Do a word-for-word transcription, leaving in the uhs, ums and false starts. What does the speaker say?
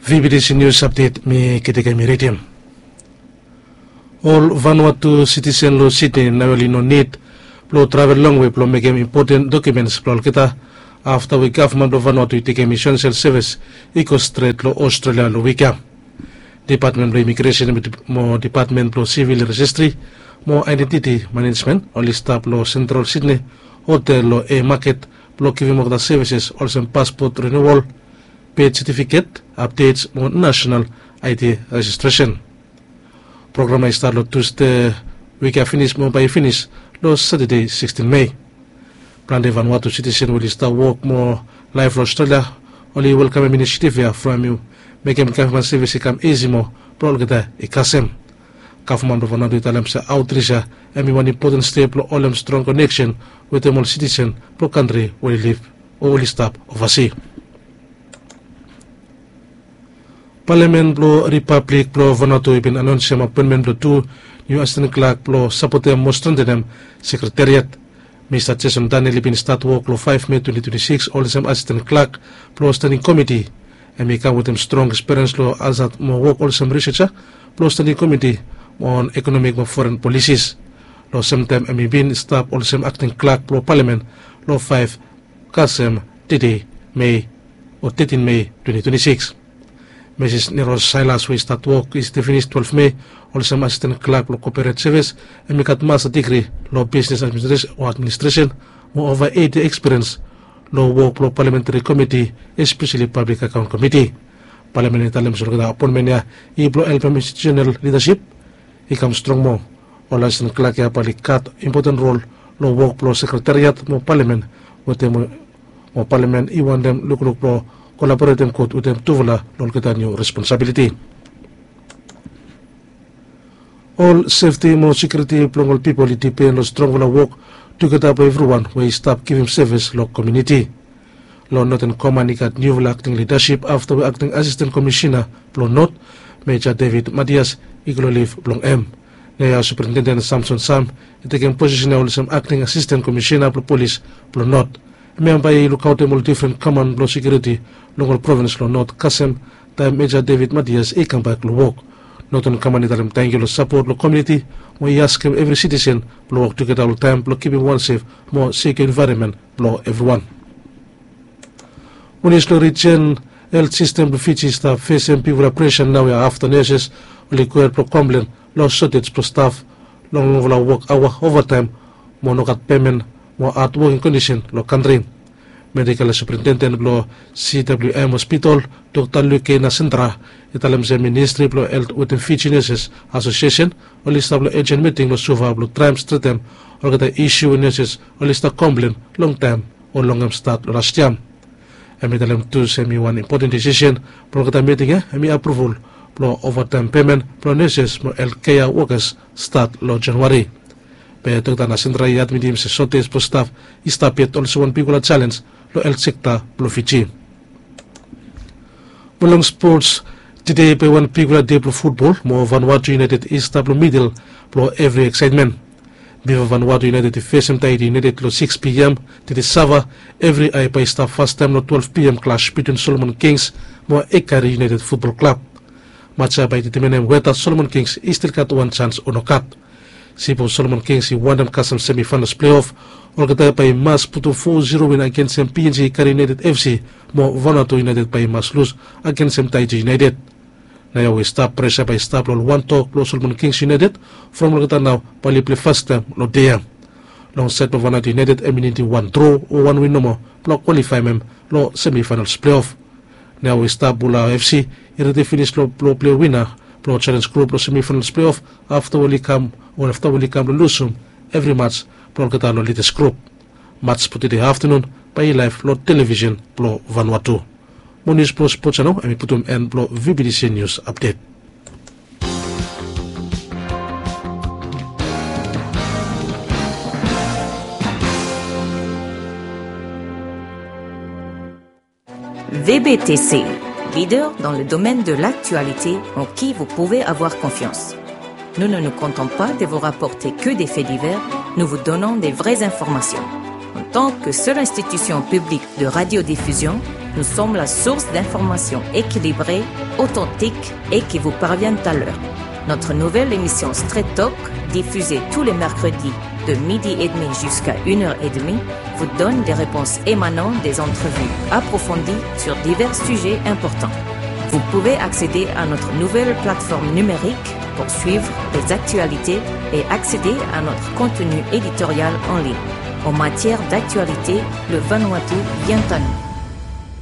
V B T C News Update mi Ketekem i ridim. Ol Vanuatu sitisen long siti nao oli no nid blong travel longwe blong mekem impoten dokimens blong olgeta afta we gavman blong Vanuatu i tekem esensel sevis i go stret long Australia long wik ya. Depatmen blong Imigresen mo Depatmen blong Sivil Rejistri mo Aedentiti Manejmen oli stap long Sentral Sidnei hotel long Haymarket blong givim olgeta sevises olsem paspot riniual, bet setifiket, apdets mo nasenal I D rejistresen. Program ya i stat long Tusde wik ya finis mo bae i finis long Satade sikstin Mei. Plante Vanuatu sitisen we oli stap wok mo laef long Australia oli welkamem inisiativ ya from hem i mekem gavman sevis i kam isi moa blong olgeta i kasem. Gavman blong Vanuatu i talem se aotris ya hem i wan impoten step blong holem strong koneksen wetem ol sitisen blong kantri we oli lif o oli stap ovasi. Palamen blong Ripablik blong Vanuatu i bin anonsem apoenmen blong tu niu asisten klak blong sapotem mo strentenem sekretariat. Mista Jason Daniel i bin stat wok long faef Mei twenti twenti sikis olsem asisten klak blong standing komiti. Hem i kam wetem strong ekspiriens long ansat mo wok olsem riseja blong standing komiti on ekonomik mo foren polisis. Long semtaem hem i bin stap olsem akting klak blong palamen long faef kasem tede Mei o tetin Mei twenti twenti sikis. Misis Neros Sailas we i stat wok i stap finis twelef Mei olsem asisten klak blong koperet sevis, hem i gat masta digri long bisnes administresen o administresen mo ova eiti ekspiriens long wok blong palamentari komiti, espeseli pablik akaon komiti. Palamen i talem se olgeta apoenmen ya i blong helpem institusenal lidasip i kam strong moa. Ol asisten klak ya bae oli gat impoten rol long wok blong sekretariat mo palamen wetem mo palamen i wantem lukluk blong kolaboretem gud wetem tufala long olgeta niu responsabiliti. Ol sefti mo sekiuriti blong ol pipol i dipen long strongfala wok tugeta blong evriwan we i stap givim sevis long komuniti. Long Northern Command i gat niufala akting lidasip afta we akting asisten komisina blong North, Major David Matias, i go long lif blong hem. Naoia Superintendent Samson Sam i tekem posisen ya olsem akting asisten komisina blong polis blong North. Hem ya bae i lukaotem ol difren command blong sekiuriti long ol provins long North kasem taem Major David Matias i kambak long wok. Northern Command i talem tangkiu long sapot blong komuniti mo i askem evri sitisen blong wok tugeta oltaem blong kipim wan sef mo sekiua envaeronmen blong evriwan. Munisipal Rijen Helt Sistem blong Fiji i stap fesem bigfala presa naoia afta neses oli gohed blong komplen long sotej blong staf long longfala wok aoa, ovataem mo nogat pemen mo had woking kondisen long kantri. Medikal superintenden blong C W M hospital, Dokta Luke Nasendra, i talem se ministri blong helt wetem Fiji Neses Asosiesen oli stap long ejen miting long Suva blong traem stretem olgeta isiu we neses oli stap komplen longtaem o long hem stat long las yia. Hem i talem tu se hem i wan impoten disisen blong olgeta miting ya hem i apruval blong ovataem pemen blong neses mo helt kea wokas stat long Januari. Be Dokta Nasendra i admitim se sotej blong staf i stap yet olsem wan bigfala jalenj long helt sekta blong Fiji. Mo long spots, tede i bae wan bigfala dei blong futbol mo Vanuatu United i stap long midel blong evri eksaetmen. Bipo Vanuatu United i fesem Tahiti United long sikis P M tede Sava, evri ae bae i stap fastaem long twelef P M klas bitwin Solomon Kings mo Ekari United Futbol Klab. Maj ya bae i detemanem weta Solomon Kings i stil gat wan jans o nogat. Sipos Solomon Kings i wantem kasem semifainals pleof, olgeta bae i mas putum fo ziro win agensem P N G Ekari United F C mo Vanuatu United bae i mas lus agensem Tahiti United. Naoia we i stap presa bae i stap long ol wantok blong Solomon Kings United from olgeta nao bae oli plei fastaem long dei ya. Long saed blong Vanuatu United hem i nidim wan dro o wan win nomo blong kwalifaem hem long semifainals pleof. Naoia we i stap, Bula F C i redi finis long blong plei wina blong jalenj grup blong semifainals pleof afta we oli kam o afta we oli kam blong lusum evri maj blong olgeta long lidas grup. Maj blong tede aftanun bae i laef long televisen blong Vanuatu. Mo nius blong spots ya nao hem i putum en blong V B T C Nius Apdet. V B T C, leader dans le domaine de l'actualité en qui vous pouvez avoir confiance. Nous ne nous contentons pas de vous rapporter que des faits divers, nous vous donnons des vraies informations. En tant que seule institution publique de radiodiffusion, Nous sommes la source d'informations équilibrées, authentiques et qui vous parviennent à l'heure. Notre nouvelle émission Straight Talk, diffusée tous les mercredis de midi et demi jusqu'à une heure et demie, vous donne des réponses émanant des entrevues approfondies sur divers sujets importants. Vous pouvez accéder à notre nouvelle plateforme numérique pour suivre les actualités et accéder à notre contenu éditorial en ligne. En matière d'actualité, le Vanuatu vient à nous.